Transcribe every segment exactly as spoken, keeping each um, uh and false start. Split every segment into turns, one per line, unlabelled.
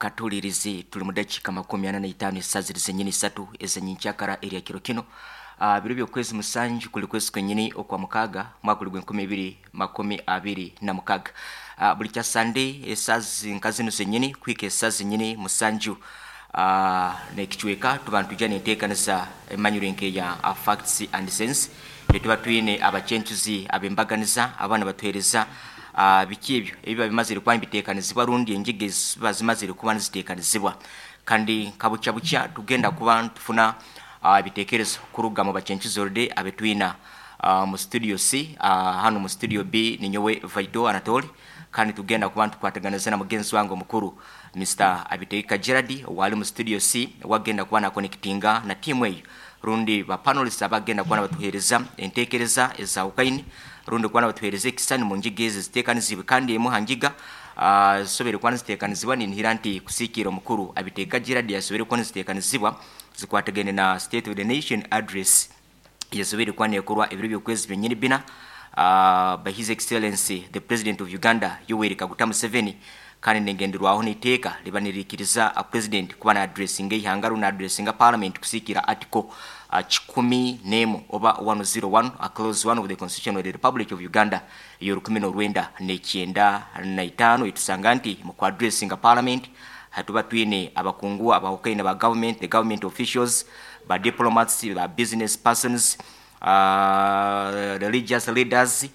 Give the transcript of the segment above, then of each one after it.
Katulirizi tuli mudakika makumi ana na itaano esaziri zenyini isatu ezenyikyakara erya kiro kino uh, biro byokwezi musanju kuli kwezi kwenyini okwa mukaga mwaka guli gwenkumi ibiri makumi abiri na mukaga. uh, buli kya Sande esazi nka zino zenyini kwika esazi zenyini musanju uh, nekichweka tuba ntujja nenteekanisa emanyiro enkeya uh, Facts and Sense, etuba twine abachenchuzi abembaganiza abaana batuhereza uh, biki ebyo ebiba bimazire kuba nibiteekanizibwa rundi enjiga eziba zimazire kuba niziteekanizibwa. Kandi nkabucha bucha tugenda kuba ntufuna uh, ebitekerezo kuruga mu bachenchuzi orde abetwina uh, mu studio C, uh, hano mu studio B ninyowe Vaido Anatoli, kandi tugenda kuba ntukwataganiza na mugenzi wange omukuru Mister Abiteeka Gerard wali mu studio C, wagenda kuba nakonectinga na timu eyo rundi ba panelists abagenda kuba batuhereza entekereza ezawukaini rundi kuba batuhereza ekisani mu njiga ezi ziteekanizibwe. Kandi emu hanjiga uh, zisobere kuba niziteekanizibwa ninhira nti kusiikira omukuru Abiteeka Gerard yasobere kuba niziteekanizibwa zikwatagene na State of the Nation Address yasobere kuba nekorwa ebiro by'okwezi byenyini bina uh, by His Excellency the President of Uganda Yoweri Kaguta Museveni. Kandi nengenderwaho n'iteeka liba nirikiriza a president kuba na addressinga eihanga rundi addressinga parliament kusiikira article uh, kikumi n'emu oba one zero one, a clause one of the Constitution of the Republic of Uganda ey'olukumi n'olwenda n'ekyenda na itaano. Etusanga nti mu ku addressinga parliament hatuba twine abakungu abahukaine ba government, the government officials, ba diplomats, ba business persons, uh, religious leaders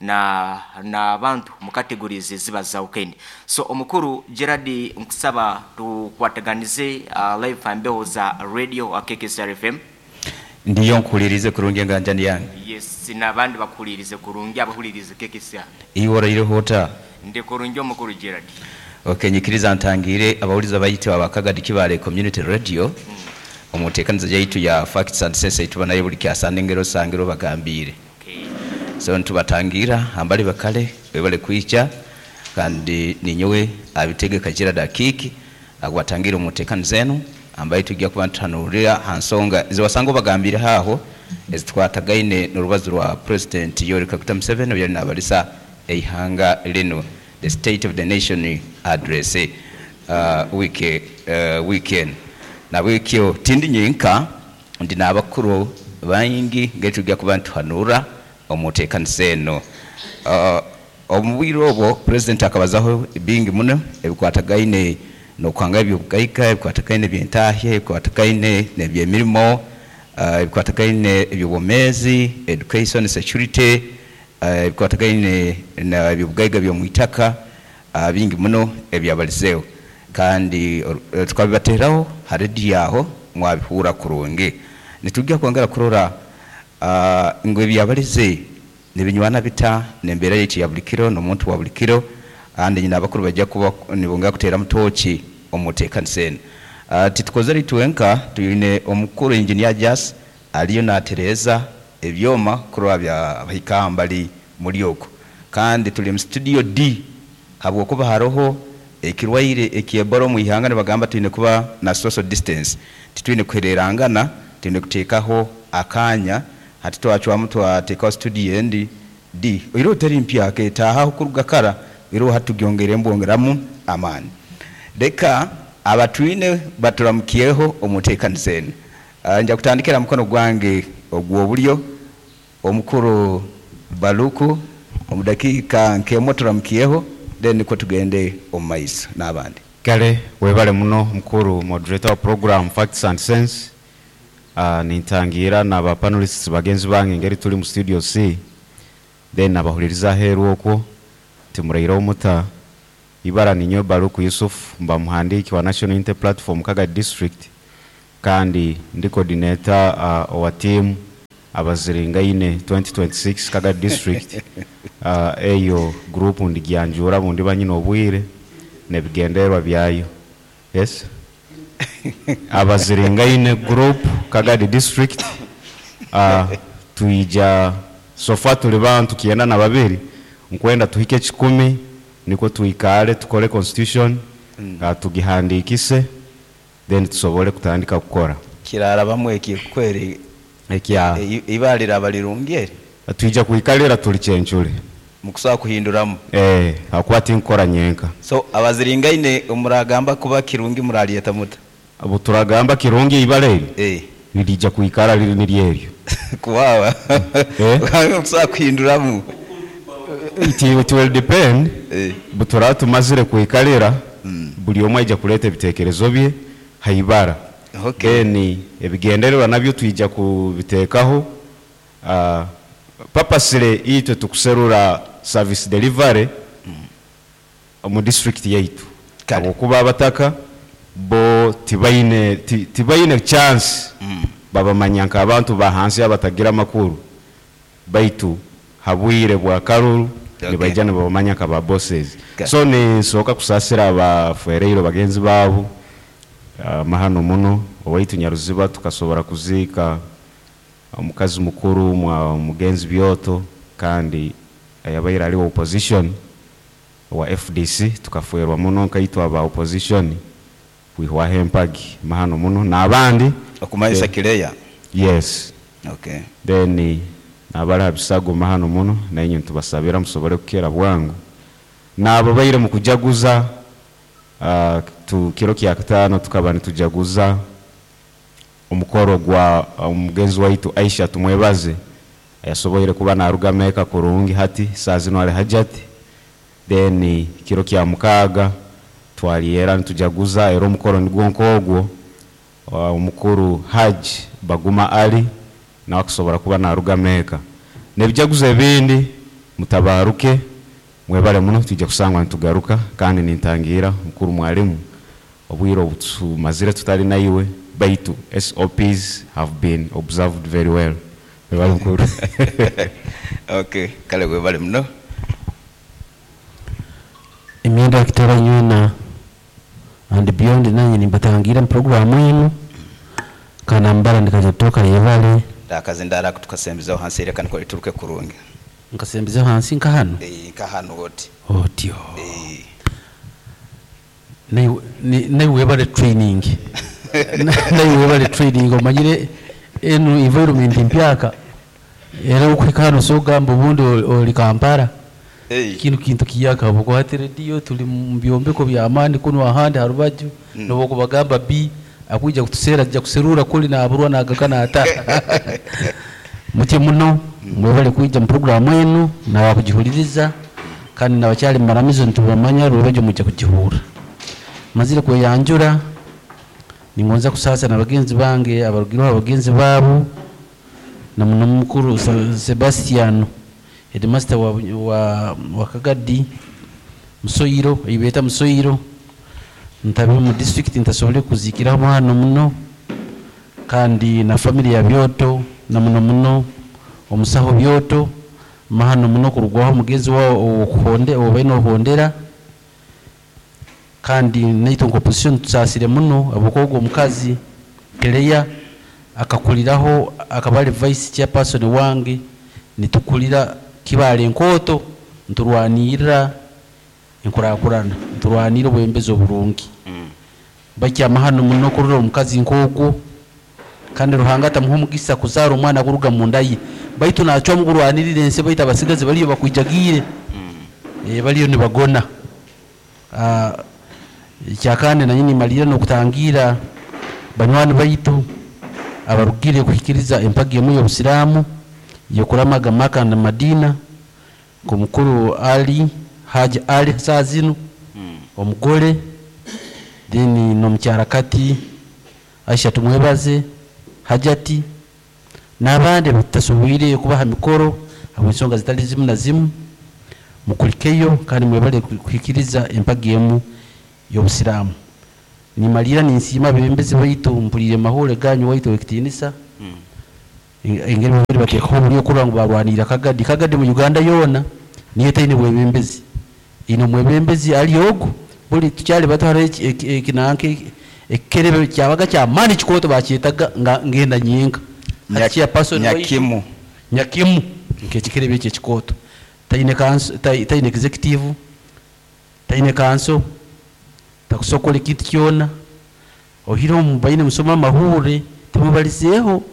na n'abantu mu categories eziba zawukaine. So omukuru Gerard, nkusaba tukwataganize uh, live ambeho za radio wa K K S R F M.
Ndiyo, nkuhulirize kurungi enganjani yange.
Yes, n'abandi bakuhulirize kurungi abahulirize K K S R.
Iwe oraireho ota?
Ndi kurungi omukuru Gerard.
Okay, nyikiriza ntangire abawuliza bayite abakagadi Kibale Community Radio. Mm. Omuteekaniza yaitu ya Facts and Sense ituba nayo buli kyasande ngero sangiro bagambire.
Okay.
So ntubatangira ambali bakale bebale kwicha kandi ninyowe abitegeka Gerard Akiki agwatangira omuteekaniza eno ambaye tujja kuba ntutanurira hansonga ziwasanga bagambire haho ezitwatagaine n'urubazo rwa President Yoweri Kaguta Museveni yali nabalisa eihanga lino the State of the Nation Address uh, week, uh, weekend na wikyo tindi nyinka ndi n'abakuru bangi ngetujja kuba ntuhanura omuteekaniza eno. uh, omubwire obwo President akabazaho bingi muno ebikwatagaine nokwanga ebyobugaiga, ebikwatagaine ebyentahya, ebikwatagaine n'ebyemirimo, uh, ebikwatagaine ebyobwomeezi, education, security, uh, ebikwatagaine na ebyobugaiga by'omwitaka, uh, bingi muno ebyabalizeho. Kandi uh, tukabibateraho ha rediyo aho mwabihura kurungi. Nitujja kwongera kurora uh, ngo ebyabalize nibinywana bita nembeera yaitu ya buli kiro n'omuntu wa buli kiro, andi nyina abakuru bajja kuba nibongera kuteera mutoki omuteekanisa eno. Uh, titukozere itwenka, twine omukuru Engineer Jas aliyo natereeza ebyoma kurora bya bahika mbali muri okwo. Kandi tuli mu studio D habwokuba haroho ekirwaire ekyebora omu ihanga nibagamba twine kuba na social distance, titwine kuhererangana, twine kuteekaho akanya. Hati twacwamu twateekaho studio endi D iro teri mpya ketaaha kuruga kara iro hatugyongere mbwongeramu amaani. Reka abatwine baturamukiyeho omuteekaniza eno. Uh, nja kutandikira mukono gwange ogw'obulyo omukuru Baluku omudakiika nk'emwe turamukiyeho, then niko tugende omu maiso n'abandi.
Kale webale muno mukuru moderator wa program Facts and Sense. Uh, nintangira na ba panelists bagenzi bange ngeri tuli mu studio C, then abahuliriza aheeru okwo timuraireho muta. Ibara ninyo Baluku Yusuf, mba muhandiki wa National Unity Platform Kagadi District, kandi ndi coordinator uh, wa team abaziringaine twenty twenty-six Kagadi District. Uh, eyo group ndigyanjura bundi banyina obwire nebigenderwa byayo. Yes, abaziringaine group Kagadi District. Uh, tuija sofa tuli bantu kienda na babiri nkwenda tuhike kikumi niko tuikale tukole constitution mm. uh, tugihandikise then tusobole kutandika kukora.
Kirara bamwe ekikweri
ekya
ibalira abalirungi
tuija kuikalira tuli chenchule.
Mukusobola kuhinduramu.
Eh, hakuba tinkukora nyenka.
So abaziringaine muragamba kuba kirungi muralyeta muta?
Obu turagamba kirungi ibara eryo
Eh.
lirija kwikara liri niryeryo.
Kuwawa.
Eh?
Mukusobola kuhinduramu.
It, it will depend.
Eh.
Butura tumazire kwikalira, buli omwe aija kuleeta ebitekerezo bye haibara.
Okay.
Then ebigendererwa nabyo twija kubiteekaho. Uh, papasire itwe tukuserura service delivery omu district yaitu.
Kale.
Habwokuba abataka bo tibaine ti- tibaine chance, babamanya nk'abantu ba hansi abatagira amakuru, baitu habwire bwa karuru
Okay.
nibaija nibabamanya nka ba bosses.
Okay.
So ninsooka kusasira abafereiro bagenzi baabo, uh, mahano muno owaitu Nyaruziba tukasobora kuziika omukazi mukuru mwa mugenzi Byoto, kandi yabaire ali opposition wa F D C. Tukaferwa muno nkaitwa aba opposition kwihwaho empagi, mahano muno n'abandi.
Okumanyisa
Eh,
Kireya.
Yes.
Okay.
Then nabali ha bisago, mahano muno, nainye ntubasabira musobole kukera bwangu. Nabo baire mu kujaguza, uh, tu kiro kya kataano tukaba nitujaguza omukoro gwa omugenzi waitu Aisha Tumwebaze, yasoboire kuba naruga Meka kurungi, hati saa zino ali hajati. Then kiro kya mukaaga twaliera nitujaguza era omukoro nigwo nk'ogwo, uh, omukuru Haji Baguma Ali nawe akusobora kuba naruga Meka nebijaguzo ebindi. Mutabaruke, mwebale muno, tujja kusangwa nitugaruka. Kandi nintangira mukuru mwalimu, obwire obutumazire tutali naiwe, baitu S O Ps have been observed very well. Mwebale mukuru.
Okay. Kale webale muno.
Emyenda kitara nywena and beyond, nanye nimbatangira mu programu enu kanambara ndikajatoka yebale.
Ndakazindara kutukasembezaho hansi era kaniko lituruke kurungi.
Nkasembezeho hansi nka hano?
Eh, nka hano oti.
Otyo.
Eh.
Naye naye webale training, naye webale training, omanyire enu environment mpyaka, era okuhika hano sogamba obundi oli- oli Kampala.
Eh.
Kinu kintu kiyaka bukwate rediyo, tuli mu byombeko byamaani kuno ahandi harubaju mm. Nobokubagamba b akwija kutusera ajja kuserura kuli naburwa nagaka nata mutye muno. Mwebale kwija mu programu enu nawakugihuliriza, kandi nabakyali mumaramizo ntubamanya rubajyo mujja kugihura. Mazire kweyanjura, ningonza kusasa na bagenzi bange abarugireho abagenzi baabo na muno mukuru Se- Sebastiano, headmaster wa, wa, wa Kagadi Musoyiro, eibeta Musoyiro ntabe mu district ntasobole kuzikiraho hano muno, kandi na family ya Byoto na muno muno omusaho Byoto, mahano muno kurugwaho mugenzi wao okuhonde obaine ohondera. Kandi naitwe nka opposition tusasire muno ahabwokuba omukazi Keleya akakuliraho, akaba ali vice chairperson wange, nitukulira Kibaale enkooto, nturwanirira enkurakurana, nturwanira obwembezi oburungi. Bakyama hano muno kurora omukazi nk'ogwo, kandi Ruhanga atamuha omugisa kuzaara omwana kuruga munda ye, baitu nacwamu kurwanirira ensi, baitu abasigazi baliyo bakwijagiire, eh, baliyo nibagona. Ah, ekyakandi nanye nimalira n'okutangira banywani baitu abarugire kuhikiriza empagi emu y'obusiraamu yokuramaga Maka na Madina, nk'omukuru Ali Haji Ali saa zinu omugole, then n'omukyara kati Aisha Tumwebaze Hajati n'abandi batasoboire kubaha mikoro habw'ensonga zitali zimu na zimu. Mukulikeyo kandi mwebale kuhikiriza empagi emu y'obusiraamu. Nimalira ninsiima abebembezi baitu, mpulire mahule ganyu waitu w'ekitiinisa, engeri babiri bateekaho oburyo kurora ngu barwanirira Kagadi. Kagadi mu Uganda yoona niyo etaine bwebembezi, ine omwebembezi ali ogu. Buli tukyali bato hariho ekinanka ekikerebe kyabaga kyamaani kikooto, bakyetaga nga ngenda nyenka.
Nya-
Chairperson waitu-
Nyakimu.
Nyakimu, nkekikerebe ekyo ekikooto taine kanso, tai- taine executive, taine kanso, takusokola ekintu kyona ohireho mubaine musoma amahure timubalizeeho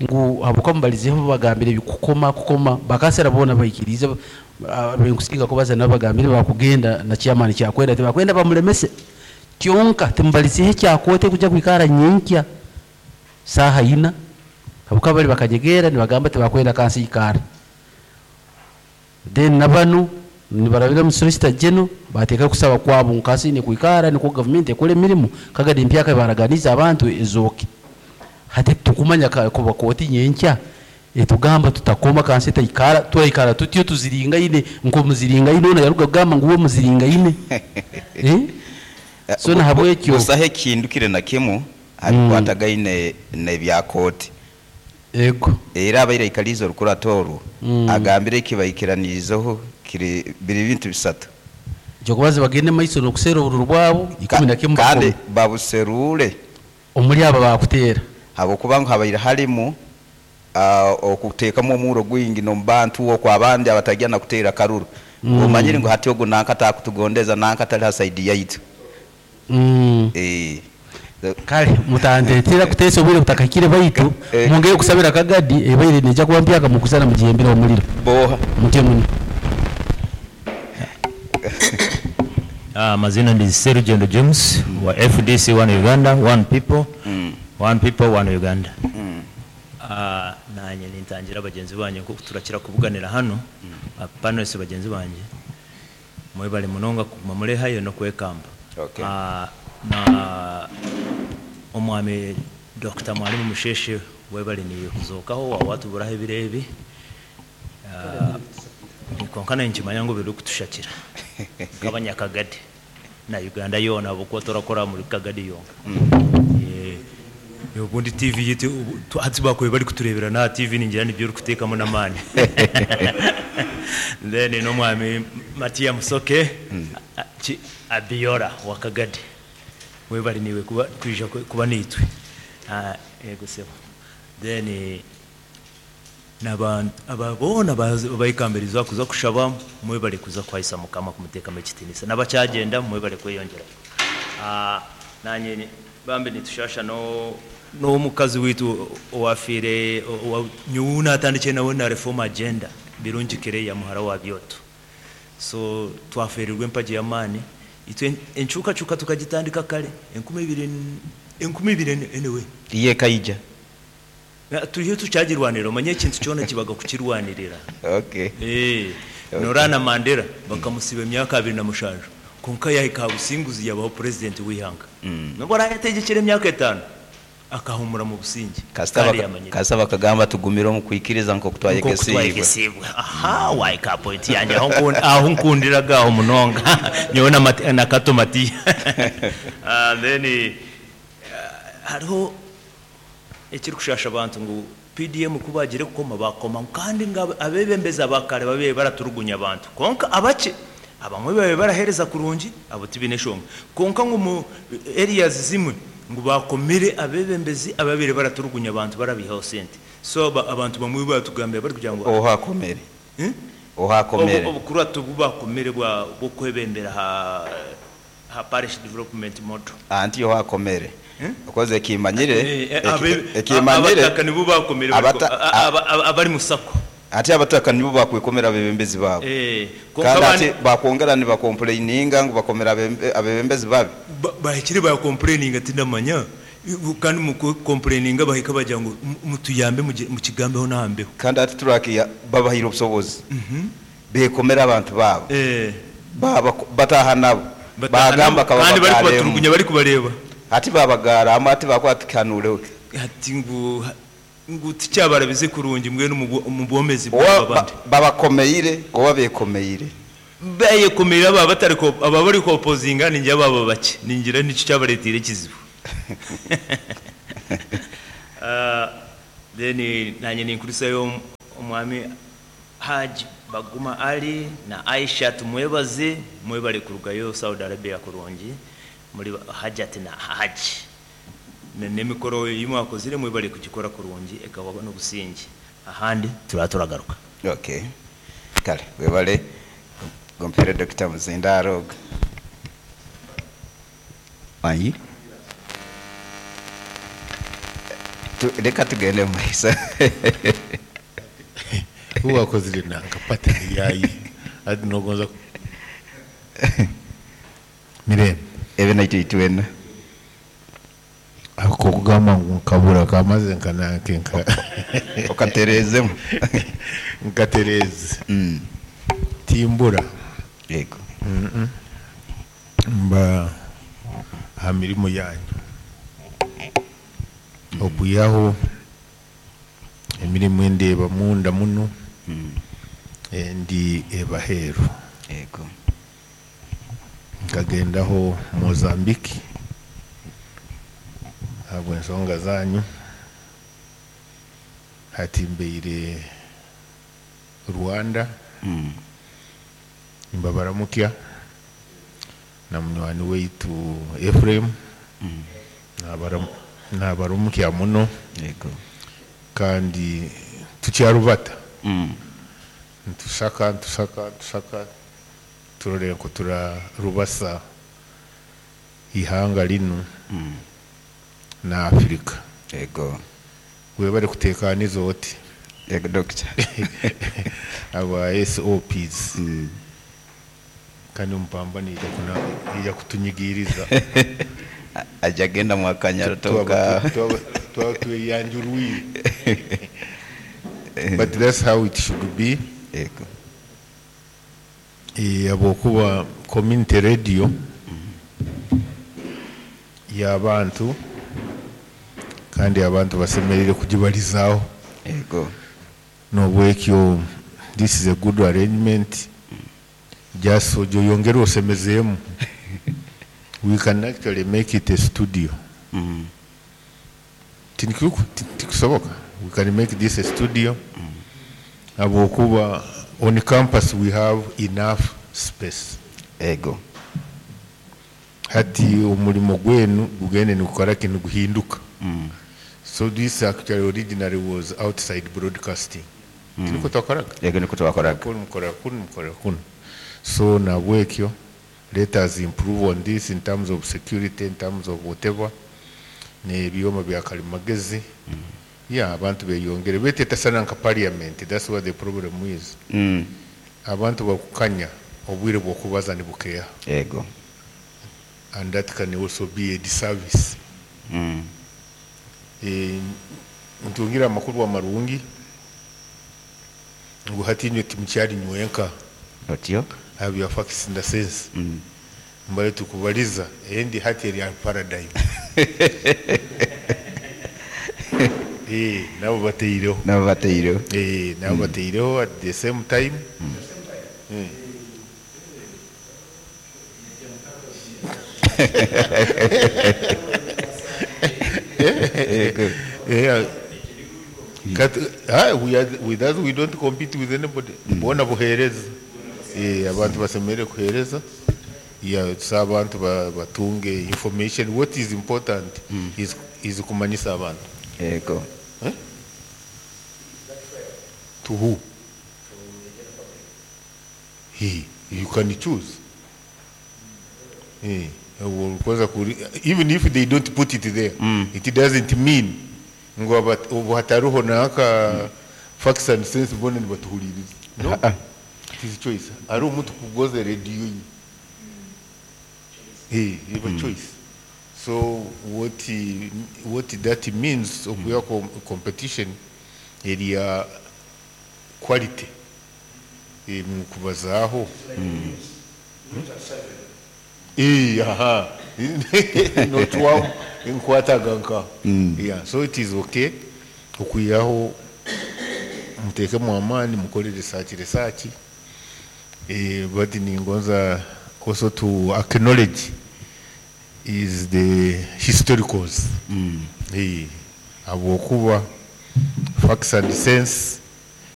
ngu habwokuba mubalizeeho babagambire ebikukoma kukoma bakasera boona baikirize. Benkusinga kubaza nabo bagambire bakugenda na chairman kyakwenda tebakwenda bamulemese kyonka timbalisihe kyakote kuja kwikara nyinkya saha ina abuka bali bakanyegera nibagamba tebakwenda kansi ikara. Then nabanu nibarabira mu solicitor general bateka kusaba kwabo nkasi ni kwikara ni ku government ekole mirimu kagadi mpyaka baraganiza abantu ezoke hati tukumanya kuba koti nyenkya etugamba tutakoma kansi taikara twaikara tutyo tuziringa ine nko muziringa ine ona yaruga gamba nguwo muziringa ine eh so na habwekyo
busahe kindukire na kimu abikwatagaine ne bya koti
ego
era abaire ikalizo rukura toru
Mm.
agambire kibaikiranirizeho kiri biri bintu bisatu
jokubaza bagende maiso nokusera obururu bwabo ikumi na kimu
kandi
bakome.
babuserure
Omuri aba bakutera
habwokuba ngu habaire harimu ah, okuteekamu omuro gwingi n'omubantu okwo abandi abatagya na kuteera karuru.
Mm.
Omanyire ngu hati ogu nanka atakutugondeza, nanka atali ha side yaitu.
Mm.
Eh,
kale mutandetera kutesa obwire butakahikire baitu
Eh.
mungeye kusabira kagadi ebaire neja kuba mpyaka mukusana mugihembera omuliro.
Boha.
Mutye muno.
Ah, mazina ndi Serugendo James wa F D C One Uganda, One People,
Mm.
One People, One Uganda.
Mm.
Ah, nanye nintangira bagenzi banjye kuko turakira kubuganira hano mm. Panelists bagenzi banjye mwebale munonga kuguma murehayo no kwekamba.
Okay.
Ah, na omwami Doctor Mwalimu Musheshe, webale niyo kuzokaho wawatuburaho ebirebi. Ah, konka nkimanya ngu biri kutushakira nk'abanyakagadi na Uganda yoona ahabwokuba turakora muri Kagadi yonka. Eh, ubundi T V yitu ubu- tu- hati bakwe bari kuturebera na T V ningira nibyo uri kutekamo n'amani. Then n'omwami Matiya Musoke a- ki- Abiora wa Kagadi, webali niwe kuba kwija ku- kuba nitwe. Ah, yego sebo. Then eh, n'abantu ababona bayikambiriza kuza kushaba, mwebale kuza kwahisa Mukama kumuteekamu ekitinisa, n'abakyagenda mwebale kweyongerayo. Ah, nanye ni- bambi nitushasha no n'omukazi witu owafiire nyowe natandikire nawe na reform agenda Birungi Kereya muhara wa Byoto. So twaferirwe empagi y'amaani itwe enkyukakyuka tukagitandika kare enkumi ibiri enkumi ibiri anyway.
Iye kaija.
Na, turiyo tukyagirwanira, omanye ekintu kyona kibaga kukirwanirira.
Okay.
Eh, Norana Mandela bakamusiba emyaka abiri na mushanju, konka yahika businguzi yabaho president w'ihanga.
Mm.
Nubwo arayategekera emyaka etaano akahumura mu busingi.
Kasita
kandi
baka-
yamanyire.
Kasita bakagamba tugumire omu kwikiriza nkoku
Nkoku
twayegesibwe.
twayegesibwe. Aha, waika point yanjye aho nkun- aho nkundiraga aho munonga nyowe na Mati- na Kato Matiya. Ah, then eh, hariho ekiri kushasha abantu ngu P D M kubagire kukoma bakoma kandi nga abebembezi abakare babe baraturugunya abantu, konka abake abamwe babe barahereza kurungi abo tibine shonga, konka ngu mu areas zimwe ngu bakomire abebembezi ababire baraturugunya abantu barabihaho sente. So aba- abantu bamwe batugambira bari kugira ngo
Ohakomere.
Eh?
Ohakomere.
Obu- obukuratu bubakomere bwa bwo kwebembera ha ha parish development model.
Anti ohakomere.
Eh?
Okoze ekimanyire.
Eh, eh,
eki-
abe-
Ekimanyire.
abataka nibo bakomere bariko-
Abata-
a- aba- aba- abari mu sako.
Ate abataka nibo bakwikomera abebembezi baabo.
Eh, konka
kandi
abandi-
ate bakwongera nibakomplaininga ngu bakomera abembe- abebembezi babi.
Ba- bahikire bakomplaininga tindamanya, kandi mu komplaininga bahika bagira ngo mu- mutuyambe mugi- mukigambeho nahambeho.
Kandi ate turakiya babahire obusobozi bekomera abantu baabo.
Eh,
Baba- bataha nabo.
Bataha
bagamba
nabo, kandi bari
kababagaalemu.
kubaturugunya bari kubareba.
Ate babagaramu ate bakwatikanure.
Ati ngu ngu tikyabarabize kurungi mbwenu mu bwomezi
Oba
bw'abandi.
ba- babakomeire oba bekomeire?
Beyekomera aba batari ko aba bari kopozinga ninjye baba bake ningira nicyo cyabaretire ikizibu. Ah, then nanye ninkurisayo omwami Haji Baguma Ali na Aisha tumwebaze, mwebale kurugayo Saudi Arabia kurungi muri Hajat na Haji Ne- n'emikoro yimwakozire mwebale kugikora kurungi ekaba n'obusingi ahandi turaba turagaruka.
Okay, kale webale gompere Doctor Muzindaro wanyi. Tu- reka tugende mu maiso.
Uwakozire nanka patani yayi. Ati nogonza mirembe.
Ebe naitwe itwena.
Ako kugamba ngu nkabura kamaze nkananke nka
Okaterezemu.
Nkatereze.
Mm.
Timbura.
Yego.
Mba aha mirimo yanyu okwihaho emirimu endeeba munda muno, endi ebaheeru.
Yego.
Nkagendaho Mozambique ahabw'ensonga zanyu, hati mbeire Rwanda.
Mm.
Mbabaramukya na munywani waitu Ephraim. Nabaram- nabaramukya muno.
Yego.
Kandi tukyarubata.
Mm.
Ntusaka, ntusaka, ntusaka turore nko turarubasa ihanga linu na Afrika.
Yego.
Webale kutekaniza oti.
Yego, doctor.
Aba S O Ps.
Mm.
Kandi omupambano ija kuna ija kutunyigiriza.
Ajja agenda mwakanya toka.
Twaba tweyanjurwire, but that's how it should be.
Yego.
Eh, habwokuba community radio y'abantu, kandi abantu basemerire kugibalizaaho.
Yego.
Nobwekyo this is a good arrangement, just ojoyongere osemezeemu. We can actually make it a studio.
Mm.
Tinkiku- ti- tikusoboka, we can make this a studio habwokuba on campus we have enough space.
Yego.
Hati omulimo gwenu gugende nigukora kintu guhinduka.
Mm.
So this actually originally was outside broadcasting. mm. Tiniko twakoraga.
Yego, niko twakoraga.
Kuno mukorera kuno, mukorera kuno. So nabwekyo let us improve on this in terms of security, in terms of whatever, n'ebyoma bya kalimagezi. Yeah, abantu beyongere betetasana nka parliament. That's what the problem is.
Mm.
Abantu bakukanya obwire bwokubaza nibukeha.
Yego.
And that can also be a disservice.
Mm.
Eh, ntungira amakuru amarungi ngu hati inywe timukyali nywenka.
Otyo.
Have facts in the sense.
Mm.
Mbale tukubaliza endi hati eri paradigm. Eh, nabo bateireho.
Nabo bateireho.
Eh, nabo bateireho at the same time. Eh.
Yego.
Yeah. Kat, ah, we are, with us we don't compete with anybody. Bona buhereza. Eh, abantu basemere kuhereza. Yeah, so abantu ba- batunge information. What is important is is kumanyisa abantu.
Yego.
Eh? To who? He, you can choose. Eh, kwanza kuri, even if they don't put it there,
Mm.
it doesn't mean ngo abat- ubu hataruho naka facts and sense bona nibatuhuliriza. No,
Ah, ah.
it is choice. Ari omuntu kugoza radio ye. Eh, you have a choice. So what he- what that means, okuya com- competition area quality, eh, mu kubazaaho. Eh, aha, notwamu nkwataga nka. Yeah, so it is okay okuyaho muteekemu amaani, mukore research, research. Eh, but ningonza also to acknowledge is the historicals.
Mm.
Eh, habwokuba facts and sense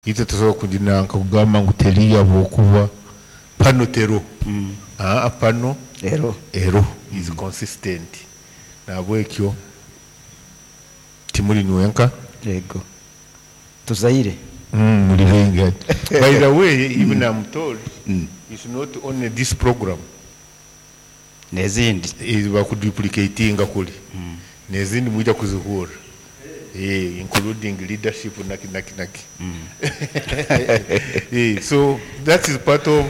itwe tusobola kugira nkakugamba ngu teri habwokuba pano tero.
Mm.
Ah, pano
Ero.
Ero is consistent. Nabwekyo timuli nywenka.
Yego, tuzaire.
Mm, muli bengi. By the way, even I'm told
Mm.
it's not only this program.
N'ezindi.
Eh, bakuduplicatinga kuli nezindi, mwijja kuzihura. Eh, including leadership naki naki naki. Eh, so that is part of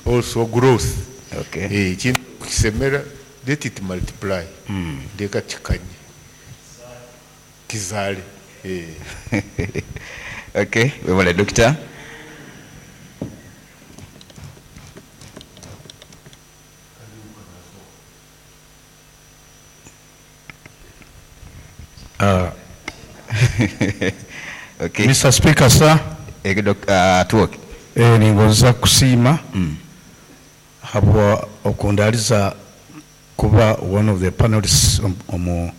also growth.
Okay.
Eh, ekintu kisemera, let it multiply, leka kikanye kizaale. Eh.
Okay, webale doctor.
Uh,
Okay.
Mister Speaker, sir.
Ege doc, uh, tuwoke.
Eh, ningonza kusiima habwa okundaliza kuba one of the panelists omu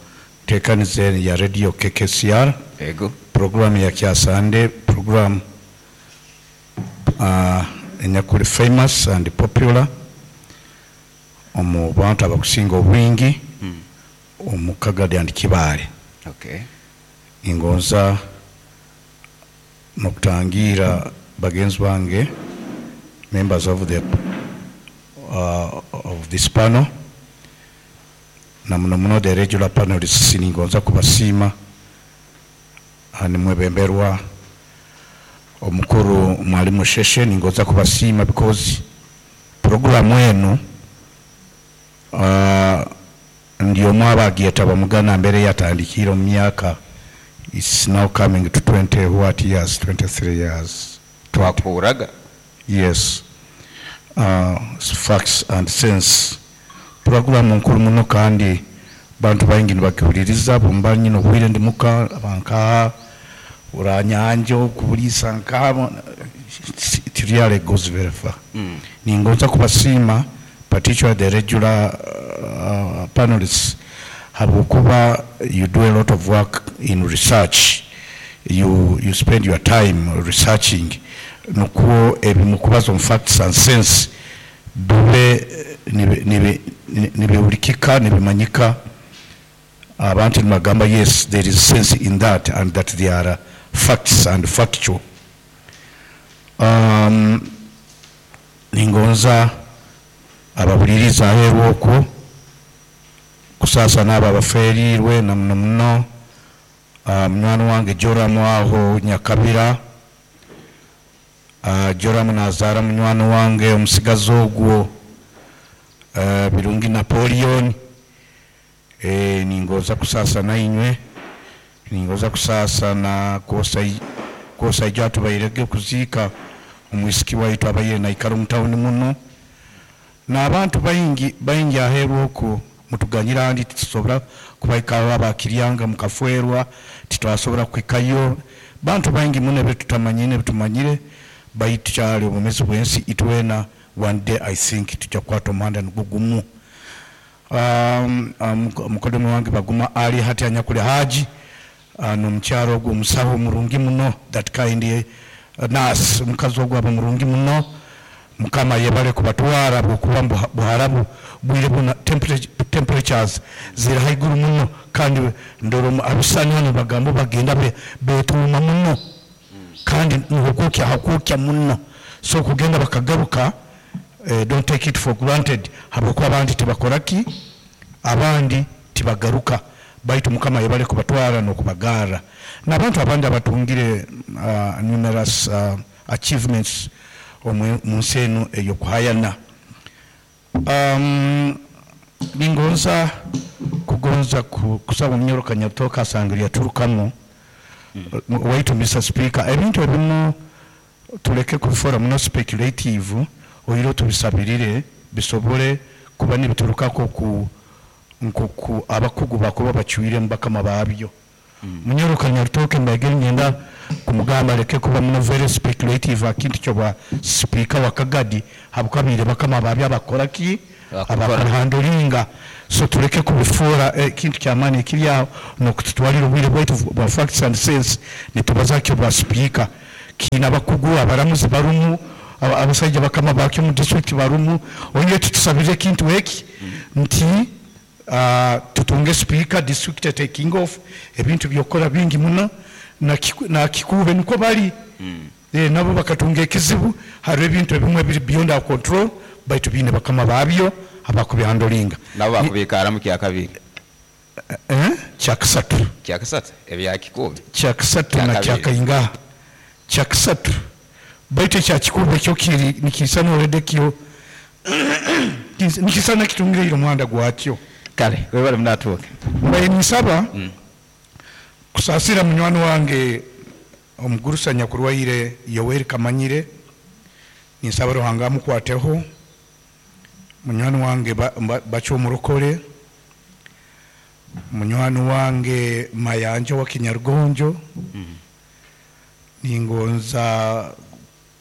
nteekaniza ya radio K K C R.
Ego.
Program ya Kyasande, program uh, enyakuli famous and popular omu bantu abakusinga obwingi omu Kagadi and Kibaale.
Okay.
Ningonza nokutangira bagenzi bange, members of the uh, of this panel, na muno muno the regular panelists. Ningonza kubasiima nimwebemberwa omukuru Mwalimu Sheshe. Ningonza kubasiima because programu enu uh, ndio mwabagyeta mugana mbere yatandikire mu myaka, it's now coming to twenty what years, twenty-three years.
Twakuraga.
Yes, uh, Facts and Sense programu nkuru muno, kandi bantu baingi nibagihuliriza. Bumba nyine obwire ndi muka bankaha uranyanja okubulisa nkaha, it really goes very far.
Mm.
Ningonza kubasiima, particularly the regular uh, panelists, habwokuba you do a lot of work in research. you, you spend your time researching nukwo ebimukubaza omu Facts and Sense bibe nibi- nibi- nibihulikika, nibimanyika, abantu nibagamba, "Yes, there is sense in that," and that they are facts and factual. um, ningonza ababuliriza aheeru okwo kusaasa n'abo abaferirwe, na muno muno uh, munywani wange Joramu aho Nyakabira. uh, Joramu nazaara munywani wange omusigazi ogwo uh, Birungi Napoleon. e, ningoza kusaasa nainywe, ningoza kusaasa na kwosa ijo atubairege okuziika omwisiki waitu abaire naikara omu tawuni muno, n'abantu baingi baingi aheeru okwo. Mutuganyira andi titusobora kubaikaho abakiryanga mukafwerwa, titwasobora kuhikayo. Bantu baingi muno ebitutamanyire ebitumanyire, baitu kyali obumezi bwensi. Itwena one day I think tujja kukwata omuhanda nigwo gumu. um, um, mukodomi wange Baguma Ali hati anyakuli Haji uh, nomukyalo ogwo omusawo murungi muno, that kind uh, nurse, omukazi ogwo aba murungi muno. Mukama yebale kubatwara, bwokuba mu Buharabu bwire buna temperature- temperatures ziri haiguru muno, kandi ndoro abisani hano bagambo bagenda be- betuuma muno, kandi nihukukya hakukya muno. So kugenda bakagaruka, eh, don't take it for granted, habwokuba abandi tibakoraki, abandi tibagaruka. Baitu Mukama yebale kubatwara n'okubagara n'abantu abandi abatungire uh, numerous uh, achievements omu mu nsi eno ey'okuhayana. um, ningonza kugonza ku- kusaba omunyoro Kanyatoka asangire yaturukamu waitu. Mister Speaker, ebintu ebimu tuleke kubifora muno speculative, oiro tubisabirire bisobole kuba nibiturukako ku nkoku abakugu bakuba bacwire bakama babyo. Munyoro Kanyatoke mbagere ngenda kumugamba leke kuba muno very speculative akintu kyo speaker wa Kagadi, habukabire bakama babyo abakora ki.
Bakukora.
Abakuhandlinga. So tuleke kubifuura ekintu kyamaani ekiri aho nokututwalira obwire bwaitu bwa Facts and Sense nitubazakyo bwa speaker. Kiina abakugu, abaramuzi barumu, aba- abasajja bakama bakyo mu district barumu. Onye tutusabire ekintu eki nti uh, tutunge speaker, district taking off, ebintu byokora bingi muno. na kiku- na kikuube niko bali eh, nabo bakatunga ekizibu. Hariho ebintu ebimwe biri beyond our control, baitu biine bakama babyo abakubihandlinga.
Nabo bakubikaramu kyakabiri.
Eh? Kyakasatu.
Kyakasatu ebyakikubi.
Kyakasatu na
Kyakabiri.
Kyakaingaha kyakasatu, baitu ekyakikubi ekyo kiri nikisana already, kyo nikisana kitungire omuhanda gwakyo.
Kale, webale munatuuke.
Mbaye nisaba kusaasira munywani wange omugurusa nyakurwaire Yoweri Kamanyire, ninsaba Ruhanga amukwateho. Munywani wange ba- ba- Bacho Omurokore, munywani wange Mayanja wa Kinyarugonjo. Ningonza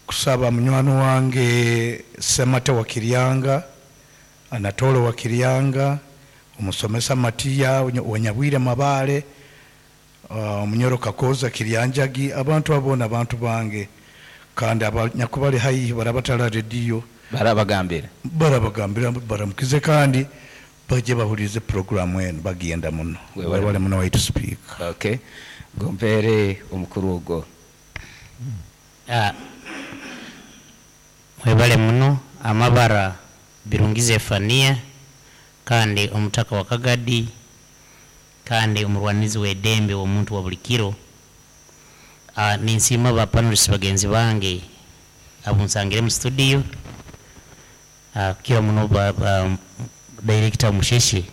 kusaba munywani wange Semate wa Kiryanga, Anatolo wa Kiryanga, omusomesa Matiya Wanyabwire Mabale, uh, Munyoro Kakoza Kiryanjagi. Abantu abona abantu bange kandi abanyakubali haihi barabatala rediyo.
Barabagambira.
Barabagambira baramukize kandi bajye bahurize programu eno bagenda muno.
Webale.
Webale muno waitu speaker.
Okay, gompere omukuru ogwo.
Ah, mwebale muno. Amabara Birungi Zefania, kandi omutaka wa Kagadi, kandi omurwanizi w'eddembe omuntu wa buli kiro. Ah, ninsiima ba panelists bagenzi bange abunsangire mu studio. Ah, kira muno ba, ba, director Musheshe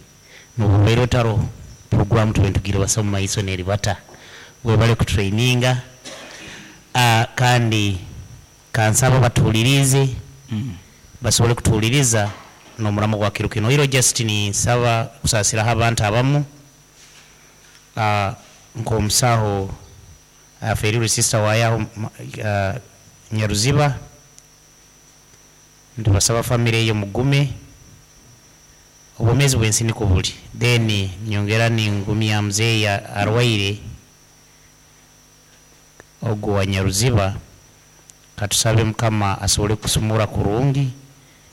nobubaire otaro program tubentugire basa mu maiso neribata, webale kutraininga. Ah, kandi kansaba batuwulirize, basobole kutuwuliriza n'omuramo gwa kiro kino. Iro just ninsaba kusaasiraho abantu abamu, ah, nk'omusaho afeerirwe sister wayaho, ah, Nyaruziba. Ntibasaba family eyo mugume, obwomeezi bwensi niko buli. Then nyongera ningumya muzeeyi arwaire ogwo wa Nyaruziba, katusabe Mukama asobole kusumura kurungi,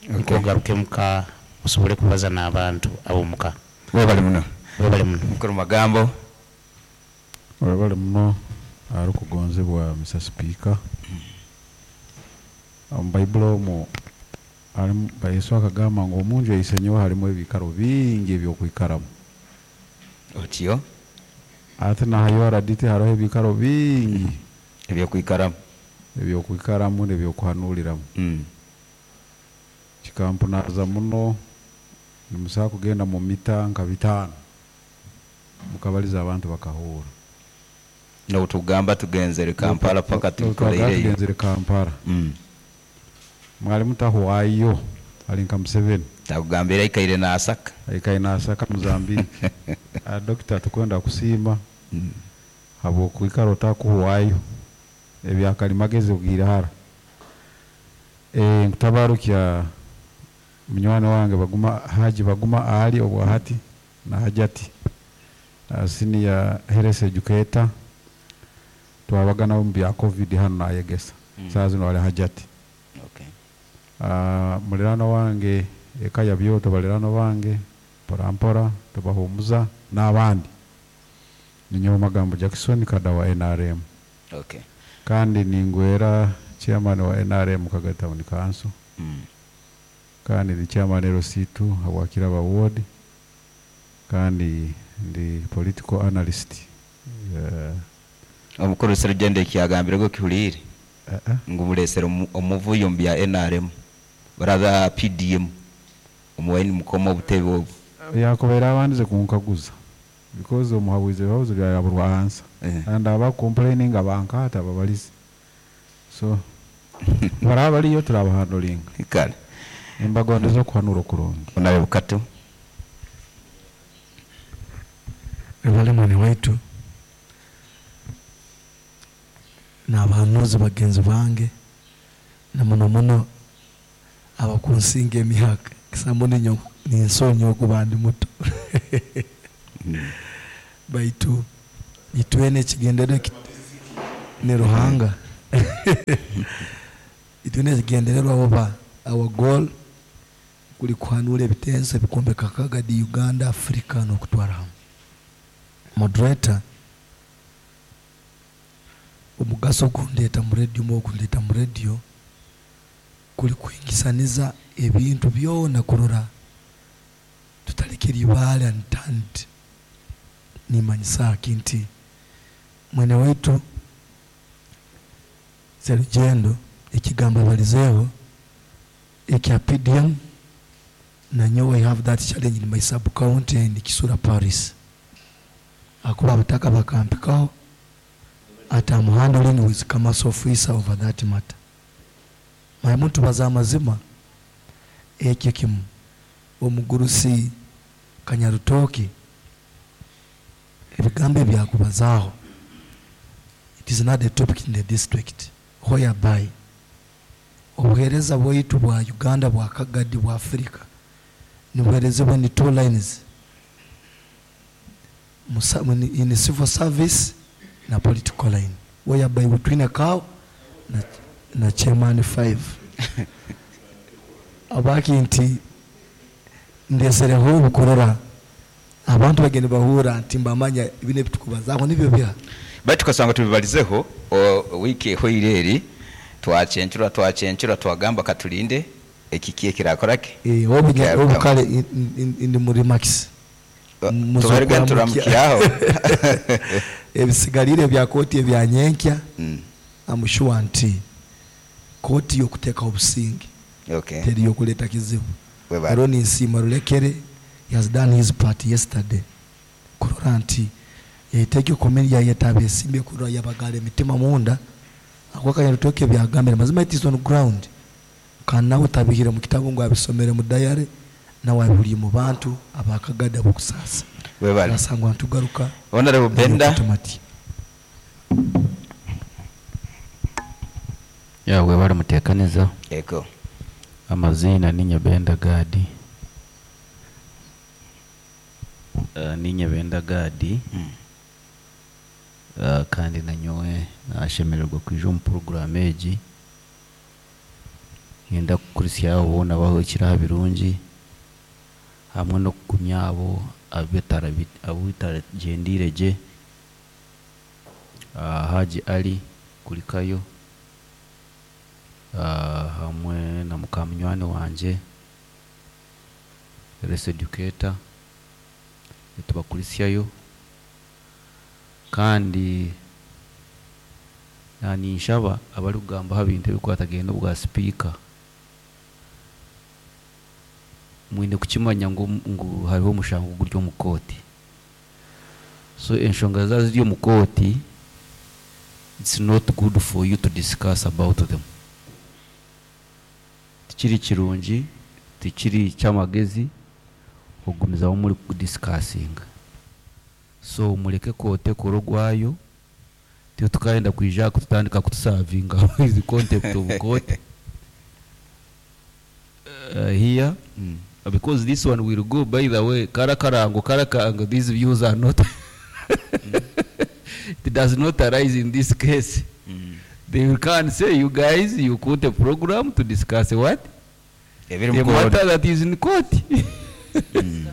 Okay.
niko ogaruke muka osobole kubaza n'abantu ab'omuka.
Webale muno.
Webale muno.
Mukuru magambo.
Webale muno arikugonzebwa Mister Speaker. Omu Bayibuli omwo harimu Yesu akagamba ngu omunju eisenyewe harimu ebikaro bingi ebyokwikaramu.
Otyo.
Ate nahayo araditi hariho ebikaro bingi
ebyokwikaramu,
ebyokwikaramu n'ebyokuhanuriramu.
Mm.
Kikampunaza muno, nimusobola kugenda mu mita nka bitaano mukabaliza abantu bakahura.
Nobutugamba tugenzere Kampala paka tukoleireyo.
Tugenzere Kampala.
Mm.
Mwalimu tahuwayo ali nka Museveni.
Takugambira aikaire nasaka.
Aikaire nasaka Mozambique. Ah, dokita, tukwenda kusiima
Mm.
habwokwikara otakuhuwayo ebyakalimagezi ogiire hara. Eh, nkutabarukya munywani wange Baguma Haji Baguma Ali obwahati na Hajati, uh, senior health educator, twabaga nabo mu bya COVID hano nayegesa.
Mm.
Saa zino ali Hajati.
Okay.
Uh, mulirano wange eka ya byoto, balirano bange mpora mpora tubahumuza n'abandi. Ninyowe Magambo Jackson kada wa N R M.
Okay.
Kandi ningwera chairman wa N R M Kagadi Town Council.
Mm.
Kandi ndi chairman L C two habwakiraba ward, kandi ndi political analyst. uh,
Omukuru Serugendo ekyagambire go kihulire
uh, uh.
ngu mulesere omu- omuvuyo mu bya N R M baraba P D M omuwaini mukoma obutebe obwo.
Yakobeera abandize kunkaguza because omuhabuzi ebibazo byayaburwa ansa
Eh.
and aba complaining abankaata babalize, so baraba baliyo turabahandulinga.
Kale.
Embagondeza okuhanura okurungi.
Onabe Bukato.
Webale mwene waitu n'abahanuzi bagenzi bange, na muno muno abakunsinga emyaka kisambo ninyo ninsonyi okuba ndi muto, baitu itwene ekigendererwa eki- ni Ruhanga, itwene ekigendererwa oba our goal kuli kuhanura ebitenso ebikombeka Kagadi, Uganda, Africa n'okutwara hamwe. Moderator, omugaso gundeta mu radio mu gundeta mu radio kuli kuingisaniza ebintu byona kurora tutalekera ibaale unturned. Nimanyisa nti mwene waitu Serugendo ekigambo balizeeho ekya P D M, na nyowe I have that challenge in my sub county in Kisura Paris. Akuba abataka bakampikaho at I'm handling with commerce officer over that matter. My muntu baza amazima ekyo kimu omugurusi Kanyarutoki ebigambo ebyakubazaaho, it is not a topic in the district whereby obuheereza bwaitu bwa Uganda, bwa Kagadi, bwa Africa nibuheerezebwa ni two lines, Musa, in civil service na political line, whereby between a cow na, na chairman five. Abaki nti ndesereho obukorora abantu bagende bahura nti mbamanya ibine bitukubazaho nibyo bya
bati tukasanga tubibalizeho wiki ehoire twachencura twachencura twagamba katulinde ekikiye kirakorake
eh obunya obukale ndi muri max
tubarega turamkiaho
ebisigalire bya koti ebya nyenkya. I'm sure nti koti yokuteka obusingi
okay
teri yokuleta kizibu. Aroni Nsima Rulekere, he has done his part yesterday. Kurora nti yaiteke komedi yayetabe simbe kurora yabagale mitima munda akwaka yarutoke byagambira mazima it is on ground. Kana utabihira mu kitabo ngo abisomere mu diary na waburi mu bantu abakagada bokusasa.
Webale.
Nasangwa ntugaruka.
Honorable Benda.
Ya webale mutekaneza.
Eko.
Amazina ninye Benda Gadi. Uh, ninye Benda Gadi. Mm. Uh, kandi nanyowe nashemererwa kwija mu program egi. Ngenda kukurisya ubona baho ikiraha birungi hamwe no kugumya abo abetara abitaragendire je. Uh, Haji Ali kulikayo. Uh, hamwe na mukamunywani wanje res educator tubakurisyayo kandi nani nshaba abali kugamba habintu ebikwatagenda obwa speaker mwine kukimanya ngu, ngu hariho omushango guri omu kooti. So enshonga zazo ziri omu kooti, it's not good for you to discuss about them. Tikiri kirungi, tikiri kyamagezi okugumizamu muri kudiscussinga. So mureke kote korogwayo tiyo tukagenda kwija kututandika kutusavinga the concept of court uh, here mm. Because this one will go, by the way, karakarango karakarango, these views are not mm. It does not arise in this case. Mm. They will come and say, you guys, you quote a program to discuss what?
Every
The matter that is in court. Mm.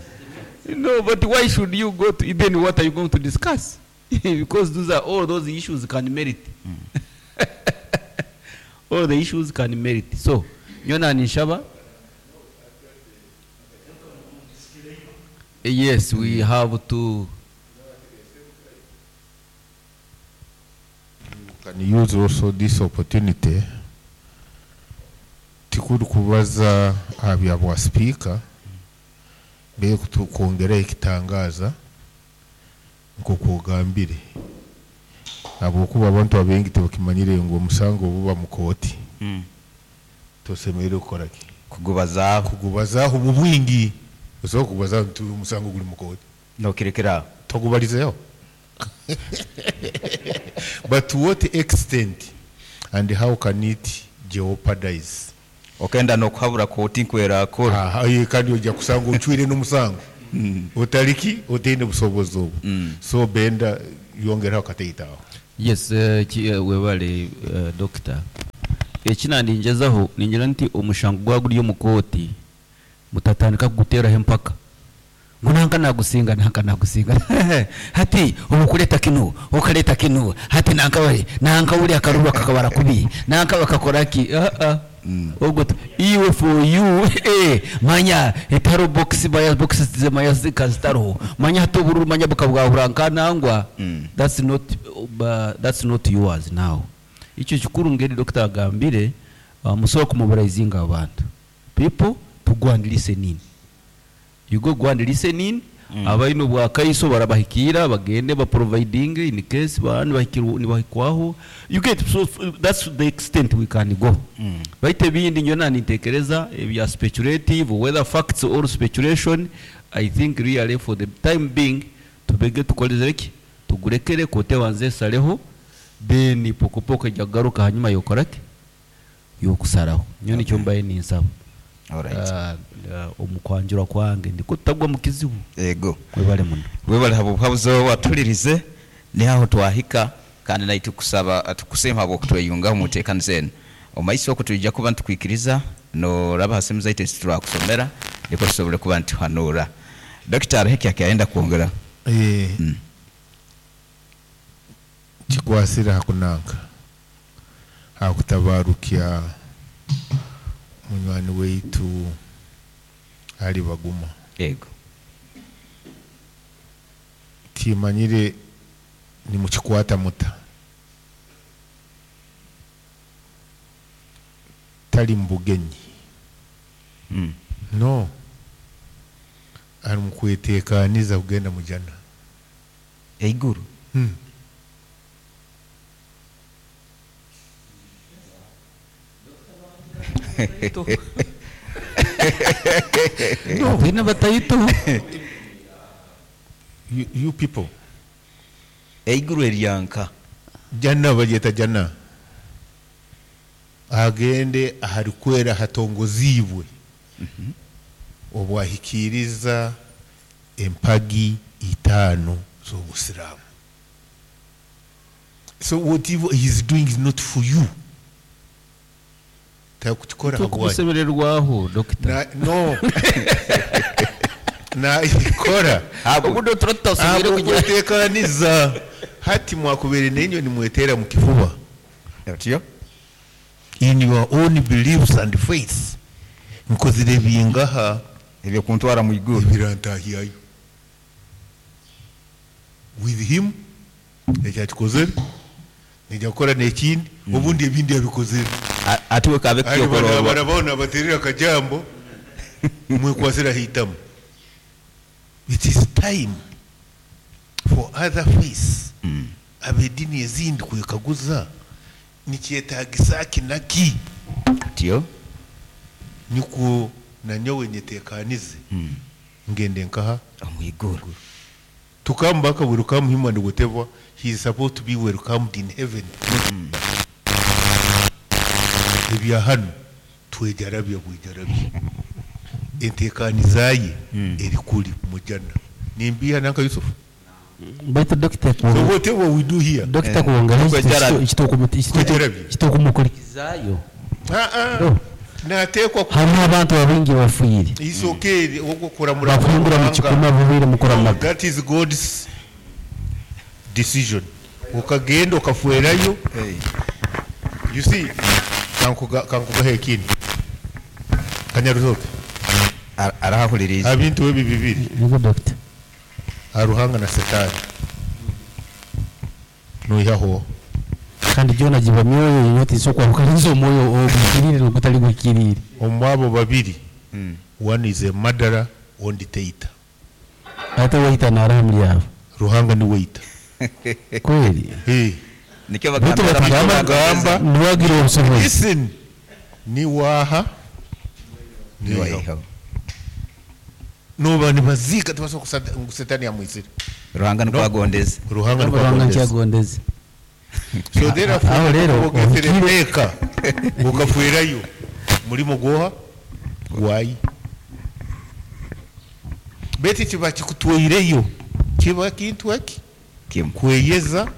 No, but why should you go to, then what are you going to discuss? Because those are all those issues can merit. Mm. All the issues can merit. So, Nyona Nishaba? Yes, we have to.
Can use also this opportunity tikuru kubaza abya bwa speaker be kutwongera ikitangaza nko kugambire abo kuba abantu abengi tebakimanyire ngo omusango buba mu kooti mm. Tosemerere gukora ki
kugubazaho
kugubazaho mu bwingi oso kubaza nti omusango guri mu kooti
no kirekera
togubalizeyo. But to what extent and how can it jeopardize?
Okenda no kuhabura kooti nkwera akora.
Ah, kandi ojja kusanga ochwire n'omusango. Mm. Otaliki oteine busobozi obwo. Mm. So Benda yongeraho kateitaho.
Yes, uh, webale uh, doctor. Ekina ndinjezaho ningira nti omushango gwaguri yo mukoti mutatandika kuguteraho empaka. Ngo nagusinga nanka nagusinga hati obukuleta kino okaleta kino hati nanka bari nanka uri akarurwa kakabara kubi nanka bakakora ki ah ah Ogwo tu- iwe for you eh, manya etaro box baya box manya zikazitariho manya hati obururu manya bukabwahura nkanangwa. That's not uh, that's not yours now. Icyo kikuru ngeri doctor agambire, uh, musobola kumobilizinga abantu, people to go and listen in. You go go and listen in. Mm. Abaine obwakaiso barabahikira bagende baproviding in case bani bahikirwa nibahikwaho, you get? So f- that's the extent we can go. Mm. Baite ebindi nyona nintekereza ebya speculative, whether facts or speculation. I think really for the time being tubege tukoleze ki tugurekere kote wanze saleho, then pokopoko ejya kugaruka hanyuma yokorake yokusaraho. Nyo nicyo mbaye ninsaba.
Alright.
uh, uh, omukwanjura kwange ndiko tutagwa mu kizibu.
Ego.
Webale muno.
Webale habo buhabuzo watulirize nihaho twahika, kandi naye tukusaba tukusema habwo kutweyungaho mutekano zenu omaiso oko tuija kuba ntukwikiriza noraba hasimu zaitu turakusomera niko tusobole kuba ntuhanura. Dokita heki akaenda kuongera.
Eh,
Mm.
Kikwasira hakunanka hakutabarukya munywani weitu ali baguma.
Ego.
Timanyire ni mukikwata muta tali mbugenyi.
Mm.
No, ari mukwetekaniza kugenda mujana.
Eiguru.
Hmm.
No, twine bataitu.
you, you people.
Eiguru eryanka.
Jana bagyeta jana, agende aharikwera hatongozibwe obwahikiriza empagi itaano z'obusiraamu. So whatever he is doing is not for you, takukikora habwanyu.
Tukusemererwaho dokita.
Na, no, naikora
obudo turatasubiire kugira
kwetekaniza hati mwakubere nenyo nimwetera mu kifuba
otyo
in your own beliefs and faiths, nkozire bingaha
ebyo kuntwara mu iguru
ebirantahiyayo with him ekyakikozere nijja kukora nekindi obundi ebindi yabikozere.
A- atiwe kabe
Ali bana
kyokororwa
barabona baterera akajambo mwekwasira hitamu. It is time for other faiths, abedini ezindi kwekaguza nikyetagisa ki naki
otyo
nikwo nanyowe nyetekanize ngende nkaha
omu iguru.
Tukambaka welcome him and whatever he is supposed to be welcomed in heaven. Ebya hano twejarabya bwejarabya entekanizaye eri kuli mujana nimbiha nanka Yusuf.
Baitu dokita
So whatever we do here,
dokita kuwongera
Kwejarabya.
Kwejarabya.
kitokumukulikizayo.
Ah, ah.
No.
Natekwa
Hariho abantu babingi bafiire.
It's okay okukuramura
bakuhindura mu kikumi bubiire mukuramaga.
That is God's decision. Ukagenda okafuerayo. You see, kankuga kankugaho ekindi kanyaruzoke.
Ar- arahahuririza
Abintu ebi bibiri,
Yego dokita.
aruhanga na setani, noihaho.
Kandi byona giba myoyo inyota isokwarukanyiza omwoyo ogwikirire n'ogutali gwikirire.
Omwabo babiri,
Mm.
one is a murderer, ondi teita.
Ate waita naraha muri abo.
Ruhanga ni weita.
Kweli.
Hey.
Nikyo
Baitu
bagambira
batugamba
bagamba
niwagira obusobozi.
Listen, ni waha ni waha
niwaihaho
noba nibaziika tibasobola ngu setani yamwizire.
Ruhanga nikwagondeza.
Ruhanga
Ruhanga
nikwagondeza.
nkyagondeze.
So therefore
Aho rero,
ogesere
obukire-
teeka okafuerayo mulimo gwoha gwayi beti kiba kikutweireyo kiba kintu eki
Kimu.
Kweyeza,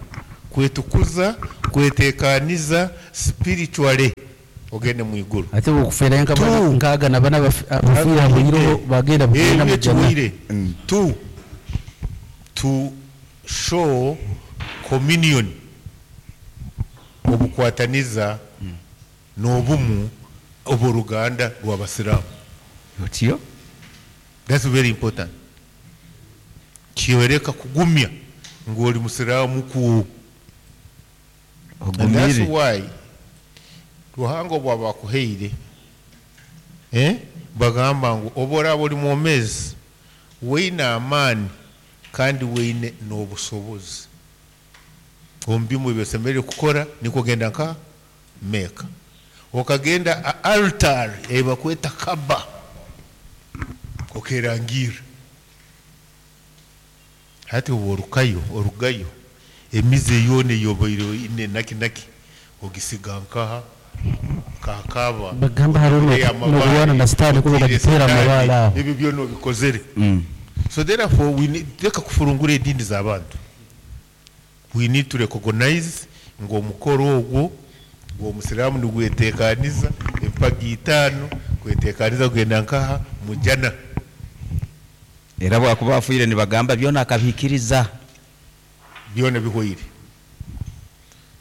kwetukuza, kwetekaniza spiritually ogende mu iguru.
Ate okufeera nka
Two.
nkaaga nabana abafiire habuireho bagenda bugenda
Ebyo
mujana.
kiwire. Two, to show communion, obukwataniza n'obumu Oboruganda rw'abasiraamu.
Otyo?
That's very important. Kiyoreka kugumya ngu oli musiraamu ku. And that's
Ogumire.
why Ruhanga obwaba akuhaire, eh, bagamba ngu oba oraba oli mwomezi weine amaani kandi weine n'obusobozi omu bimwe ebyosemereire kukora, nikwo genda nka Mecca, okagenda a altar ebakweta Kaba, okerangira hati oba orukayo orugayo emize yoona eyobaire oine naki naki ogisiga nkaha kakaba.
Bagamba hariho
Otire
no- n'okurwana na sitaani kuba
otire
bagitera
sitaani,
amabaale aho.
Ebyo byona obikozere. So therefore we need, reka kufurungura edini z'abantu. We need to recognize ngu omukoro ogwo gw'omusiraamu nigwetekaniza empagi itaano kwetekaniza kugenda nkaha mujana.
Era bwakuba afiire nibagamba byona akabihikiriza.
Byona bihwaire.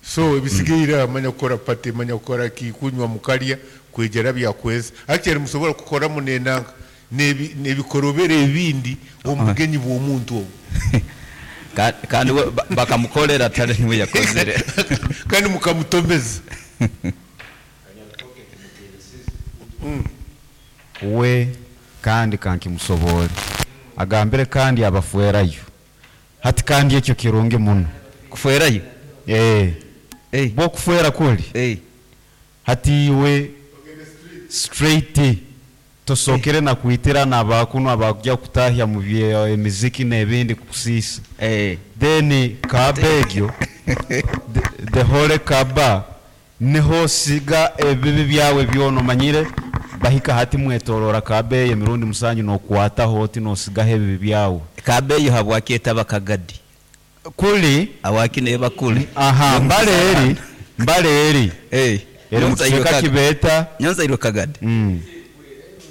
So ebisigaire amanya kukora pate, manya kukora ki, kunywa mukarya kwegera byakweza. Actually musobora kukoramu nenanga nebi- nebikorobera ebindi omu bugenyi bw'omuntu obwo.
Ka- kandi we ba- bakamukolera tali niwe yakozere.
Kandi mukamutomeza.
We kandi kankimusobole agambire kandi abafuerayo hati kandi ekyo kirungi muno.
Kufuerayo?
Eh, bwokufuera kuli
eh.
Hati iwe straight tosokere na kuitira nabakuno abakujya kutahya mu bye emiziki n'ebindi kukusisa
eh.
Then kaba egyo the, the whole kaba niho siga ebibi byawe byona omanyire bahika hati mwetorora kaba eyo emirundi musanju nokwataho oti nosigaho ebibi byawe.
Kaba eyo habwaki bakagadi
kuli
awaki neba kuli.
Aha, mbale eri mbale eri
eh
eri mu kicweka kibeeta
Nyonza irwe kagadi
mm.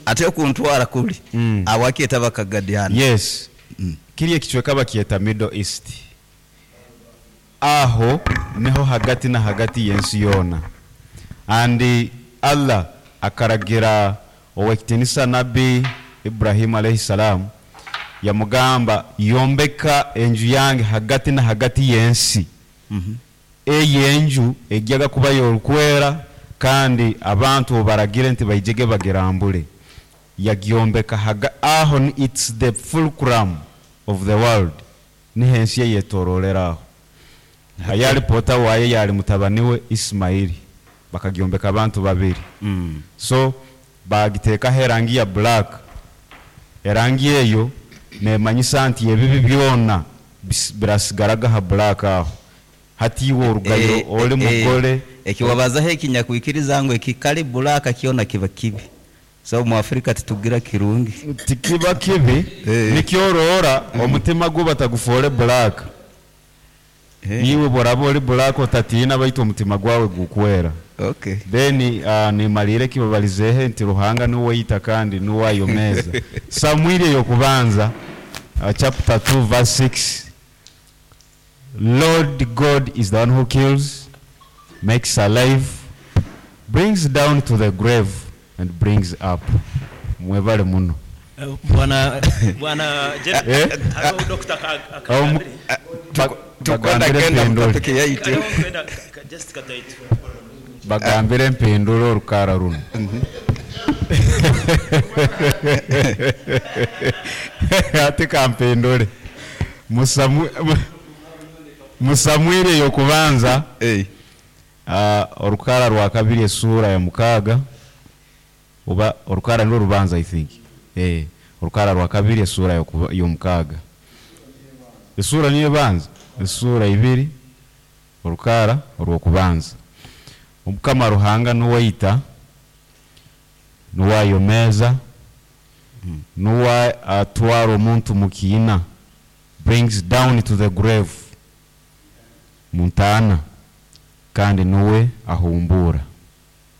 Ate okuntwara kuli
mm.
awaki etaba kagadi hano.
Yes, mm. Kiri ekicweka bakyeta Middle East. Aho niho hagati na hagati y'ensi yoona. And Allah akaragira owekitinisa Nabbi Ibrahimu alayhi salam, yamugamba yombeka enju yange hagati na hagati y'ensi.
mm -hmm.
Eyo enju ejjaga kuba yorukwera kandi abantu obaragire nti baijege bagirambule. Yagyombeka haga, aho ni it's the fulcrum of the world, niho ensi eyetorolera aho. Hayali pota waye yali mutabani we Ismaili, bakagyombeka abantu babiri.
mm.
So bagiteekaho erangi ya black. Erangi eyo nemanyisa nti ebibi byona bis- birasigaraga ha black aho. Hati iwe orugayo
Eh,
oli
eh,
mugole
ekiwabazaho ekinyakwikiriza ngu ekikali bulaka kyona kiba kibi, so mu Afrika titugira kirungi.
Tikiba kibi, nikyoroora omutima gwo batagufoore black. Iwe boraba oli black otatiina, baitu omutima gwawe gukwera.
Okay.
Then uh, nimalire kibabalizehe nti Ruhanga niwe yita kandi niwe ayomeza. Samwiri eyokubanza uh, chapter two verse six. Lord God is the one who kills, makes alive, brings down to the grave and brings up. Mwebale muno.
Eh, Bwana bwana Jeff,
Eh?
hariho Doctor ka- ka-
Aho mu-
Kabiri.
Bagambire mpindule.
Hariho kwenda ka- just kataitu.
Bagambire mpindule orukara runo. Ati kampindule Musamu- mu- musamwiri eyokubanza uh, orukara rwa kabiri esura ya mukaaga, oba orukara nirwo rubanza, I think. Eh, orukara rwa kabiri esura yokuba- y'omukaaga, esura niyo ebanza, esura ibiri orukara orwokubanza. Omukama Ruhanga niwe niwayomeza, niwe atwara omuntu mu kiina, brings down to the grave, muntaana, kandi niwe ahumbura.